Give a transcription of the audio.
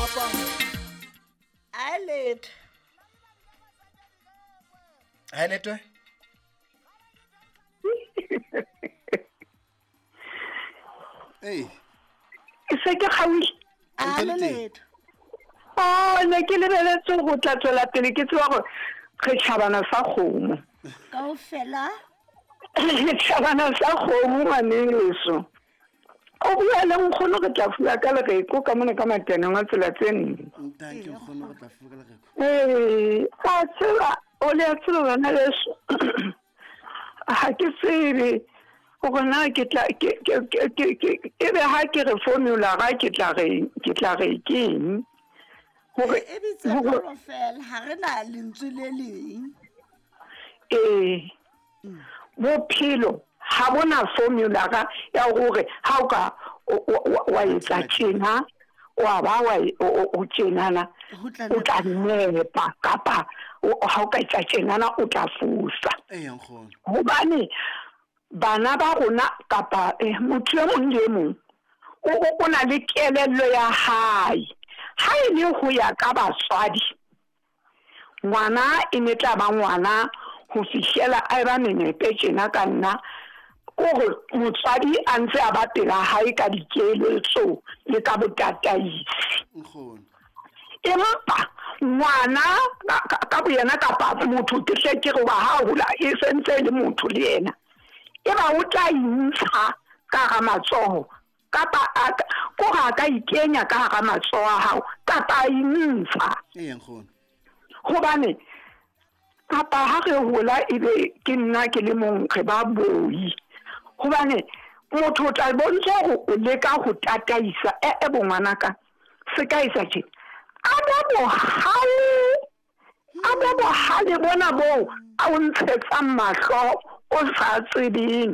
Papa. A letho. Ha letho? Ei. Se ke kgaoile. A le letho. Oh, ne ke lebeletse go tla tswela pele ke tseba gore re tšhabana sa kgomo. Kaofela. Re tšhabana sa kgomo ngwaneso. O bua le nkgono re tla fula ka lereko ka mona ka mateneng a tsela tse nne. Thank you nkgono re tla fula ka lereko. Ee, a tseba o le a tseba bana beso. Ga ke tsebe gore na ke tla ke ke ke ke e be ha ke re formula ga ke tla re ke tla re keng gore e bitse toro fela ga re na lentswe le leng. Ee, bophelo ga bona formula ga ya gore ha o ka wa etsa tjena wa ba wa o tjenana o tla nepa kapa ha o ka etsa tjenana o tla fosa. Gobane bana ba rona kapa motho e mong le e mong o na le kelello ya hae. Ha e le ho ya ka batswadi, ngwana e ne tla ba ngwana ho fihlela a eba menepe tjena ka nna, kore motswadi a ntse a ba pela hae ka dikeletso le ka botataisi. Empa ngwana ka boyena kapa motho ke hle ke re wa ha hola e sentse e le motho le yena, e ba o tla intsha ka hara matsoho kapa kore a ka ikenya ka hara matsoho a hao kapa a intsha. Gobane kapa ha re hola ebe ke nna ke le mong re ba boi. Gobane motho o tla bontsha hore o leka ho tataisa e bo ngwanaka se ka etsa tje. A be bohale, a be bohale bona boo a o ntshetsang mahlo o sa tsebeng.